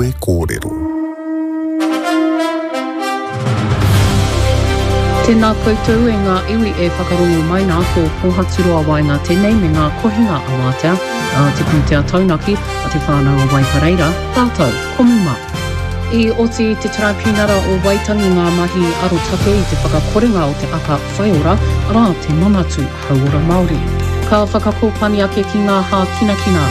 Kawe Kōrero. Tēnā koutou e ngā iwi e whakarongo mai nā ko Pōhaturoa Waenga tēnei me ngā kohinga a Wātea, a Te Pūtea Taunaki, a Te Whānau o Waipareira, tātou ko Muma. I oti i te Taraipiunara o Waitangi ngā mahi arotake i te whakakorenga o te aka whaiora, arā, te Manatū Hauora Māori. Ka whakakōpani ake ki ngā hākinakina.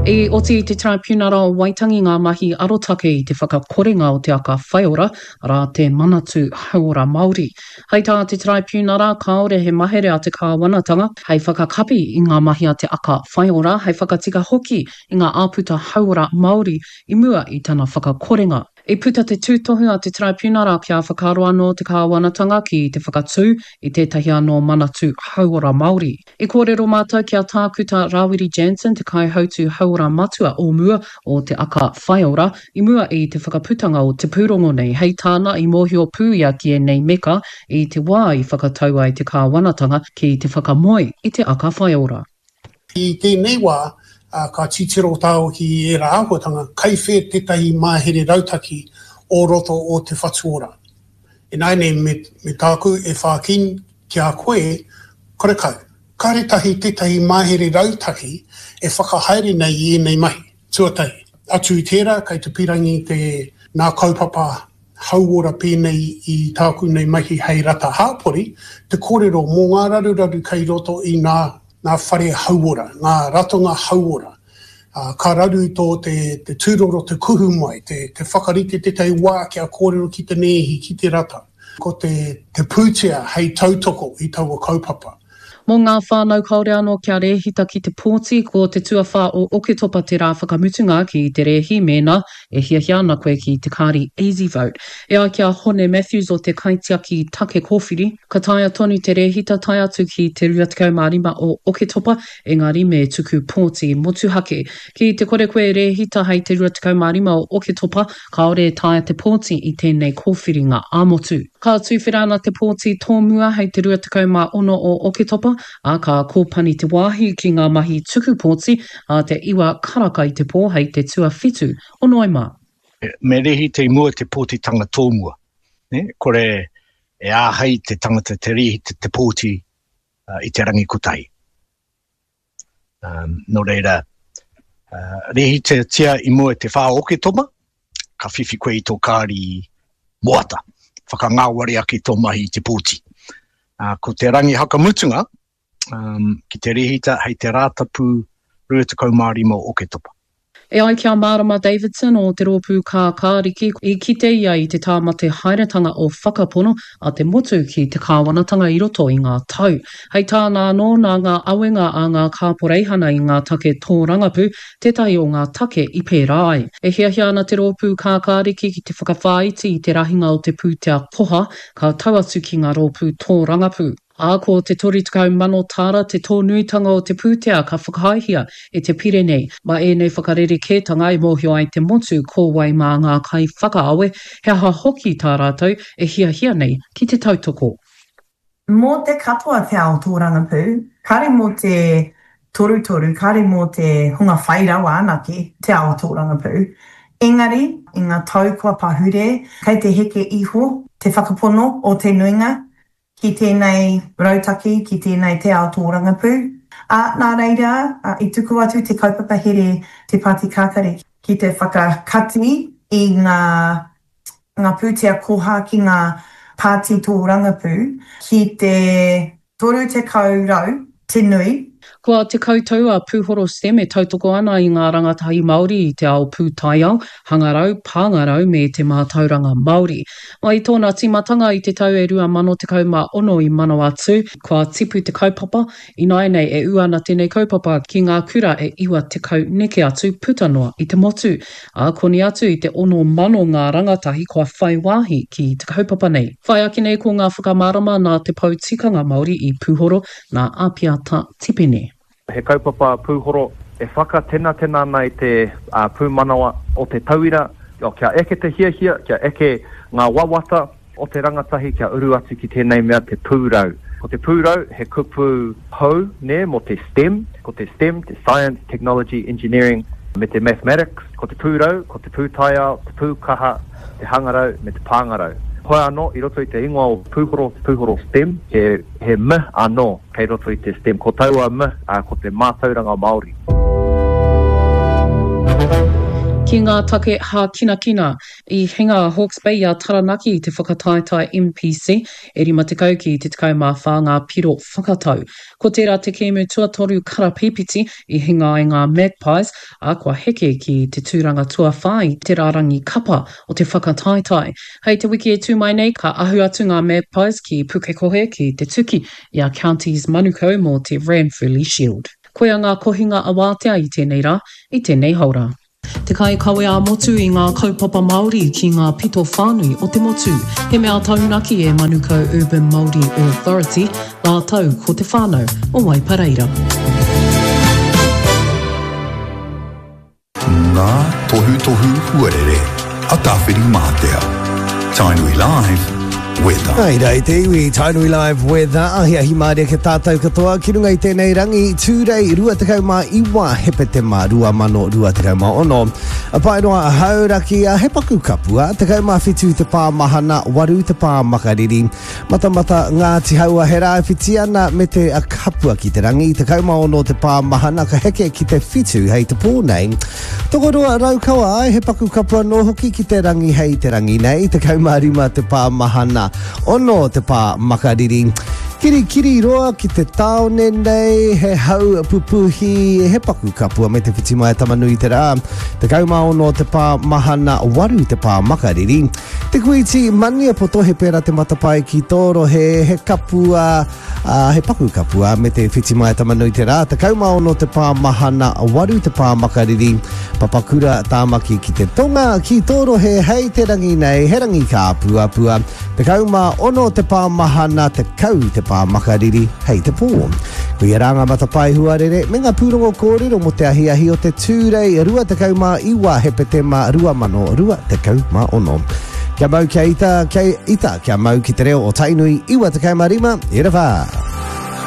I oti i te Taraipiunara o Waitangi ngā mahi arotake i te whakakorenga o te aka whaiora, arā, te Manatū Hauora Māori. Hei tā te Taraipiunara, kāore he mahere a te kāwanatanga hei whakakapi i ngā mahi a te aka whaiora, hei whakatika hoki i ngā āputa hauora Māori i mua i tana whakakorenga. I puta te tūtohu a te Taraipiunara kia whakaaro anō te kāwanatanga ki te whakatū i tētahi anō manatū hauora Māori. I kōrero mātou ki a Tākuta Rawiri Jansen, te Kaihautū Hauora Matua o mua o Te Aka Whaiora, i mua i te whakaputanga o te pūrongo nei. Hei tāna, i mōhio pū ia ki ēnei meka i te wā i whakatau ai te kāwanatanga ki te whakamoe i Te Aka Whaiora. I tēnei wā, ka titiro tāua ki ērā āhuatanga, kai whē tētahi mahere rautaki o roto o Te Whatu Ora. Ināianei, me, me tāku e whāki ki a koe, karekau, karetahi tētahi mahere rautaki e whakahaere nei i ēnei mahi, tuatahi. Atu i tērā, kei te pīrangi te, nā kaupapa hauora pēnei i tāku nei mahi hei rata hāpori, te kōrero mō ngā raruraru kei roto i ngā, ngā whare hauora, ngā ratonga hauora. Ā, ka raru tō te, te tūroro te kuhu mai, te, te whakarite tētahi wā kia kōrero ki te nēhi, ki te rata. Ko te, te pūtea hei tautoko i taua kaupapa. Mō ngā whānau kāore anō kia rēhita ki te pōti, ko te tuawhā o Oketopa te rā whakamutunga ki te rēhi mēnā e hiahia ana koe ki te kāri EasyVote. E ai ki a Hone Matthews o te Kaitiaki Take Kōwhiri, ka taea tonu te rēhita tae atu ki te 25 o Oketopa, engari me tuku pōti motuhake. Ki te kore koe e rēhita hei te 25 o Oketopa, Kāore e taea te pōti i tēnei kōwhiringa ā-motu. Ka tuwhera ana te pōti tōmua hei te 26 o Oketopa, ā, ka kōpani te wāhi ki ngā mahi tuku pōti ā te iwa karaka i te pō hei te tuawhitu o Noema. Me rēhita i mua te pōtitanga tōmua. Kore e āhei te tangata te rēhita te pōti i te rangi kotahi. Um, nō reira, uh, rēhitatia i mua i te whā o Oketopa, ka whiwhi koe i tō kāri moata, whakangāwari ake tō mahi i te pōti. Uh, ko te rangi hakamutunga, um, ki te rēhita hei te Rātapu 25 o Oketopa. E ai ki a Mārama Davidson o te Rōpū Kākāriki, i kite ia i te tāmate haeretanga o whakapono a te motu ki te kāwanatanga i roto i ngā tau. Hei tāna anō, nā ngā awenga a ngā kāporeihana i ngā take tōrangapū tētahi o ngā take i pērā ai. E hiahia ana te Rōpū Kākāriki ki te whakawhāiti i te rahinga o te pūtea koha ka tau atu ki ngā rōpū tōrangapū. Ā, ko te 30,000 tāra te tōnuitanga o te pūtea ka whakaaehia e te pire nei. Mā ēnei whakarerekētanga e mōhio ai te motu ko wai mā ngā kaiwhakaawe, he aha hoki tā rātou e hiahia nei ki te tautoko. Mō te katoa te ao tōrangapū, kāre mō te torutoru, kāre mō te hunga whai rawa anake te ao tōrangapū. Engari, i ngā tau kua pahure, kei te heke iho te whakapono o te nuinga ki tēnei rautaki, ki tēnei te ao tōrangapū. Ā, nā reira, i tuku atu te kaupapa here Te Pāti Kākari ki te whakakati i ngā, ngā pūtea koha ki ngā pāti tōrangapū ki te 30 rau te nui. Kua 10 tau a Pūhoro STEM e tautoko ana i ngā rangatahi Māori i te ao pūtaiao, hangarau, pāngarau me te mātauranga Māori. Mai i tōna tīmatanga i te tau e 2016 i Manawatū, kua tipu te kaupapa, ināianei e ū ana tēnei kaupapa ki ngā kura e 90 neke atu puta noa i te motu, ā, koni atu i te 6,000 ngā rangatahi kua whai wāhi ki te kaupapa nei. Whai ake nei ko ngā whakamārama nā te Pou Tikanga Māori i Pūhoro, nā Apiata Tipene. He kaupapa pūhoro e whakatenatena ana i te pūmanawa o te tauira, kia eke te hiahia, kia eke ngā wawata. o te rangatahi kia uru atu ki tēnei mea te pūrau. Ko te pūrau he kupu hou, nē, mō te STEM. Ko te STEM, te Science, Technology, Engineering me te Mathematics. Ko te pūrau, ko te pūtaiao, te pūkaha, te hangarau me te pāngarau. Hoi anō, i roto i te ingoa o Pūhoro, te Pūhoro STEM, he, he M anō kei roto i te STEM. Ko taua M, ā, ko te mātauranga Māori. Ki ngā take hākinakina, i hinga a Hawke's Bay i a Taranaki i te whakataetae NPC, e 50 ki te 14 ngā piro whakatau. Ko tērā te kēmu tuatoru karapīpiti i hinga ai ngā Magpies, ā, kua heke ki te tūranga tuawhā i te rārangi kapa o te whakataetae. Hei te wiki e tū mai nei, ka ahu atu ngā Magpies ki Pukekohe ki te tuki i a Counties Manukau mō te Ranfurly Shield. Koia ngā kohinga awātea i tēnei rā, i tēnei haora. Te kaikawe ā-motu i ngā kaupapa Māori ki ngā pito whānui o te motu. He mea taunaki e Manukau Urban Māori Authority rātou ko te whānau o Waipareira. Ngā tohutohu huarere a Tāwhirimātea. Tainui Live, Weather. Hai rā i te iwi, Tainui Live Weather, ahiahi mārie ki tātou katoa ki runga i tēnei rangi, Tūrei 29 Hepetema 2026. A Paeroa Hauraki, a he paku kapua, 17 te pā mahana, 8 te pā makariri. Matamata Ngāti Haua he rāwhiti ana me te kapua ki te rangi, 16 te pā mahana ka heke ki te whitu hei te pō nei. Tokoroa Raukawa ai, he paku kapu anō hoki ki te rangi hei te rangi nei, 15 te pā mahana, 6 te pā makariri. Kirikiri roa ki te tāone nei, he hau pupuhi, he paku kapua me te whiti mai a Tamanui-te-rā, 16 te pā mahana, 8 te pā makariri. Te Kuiti Maniapoto, he pērā te matapae ki tō rohe, he kapua, Ā, he paku kapua me te whiti mai a Tamanui-te-rā, 16 te pā mahana, 8 te pā makariri, Papakura, Tāmaki ki te tonga, ki tō rohe hei te rangi nei, he rangi kāpuapua, 16 te pā mahana, 10 te pā makariri hei te pō. Koia rā ngā matapae huarere me ngā pūrongo kōrero mō te ahiahi o te Tūrei 29 Hepetema 2026. Kia mau kia ita, kia ita, kia mau ki te reo o Tainui 95, e rewha.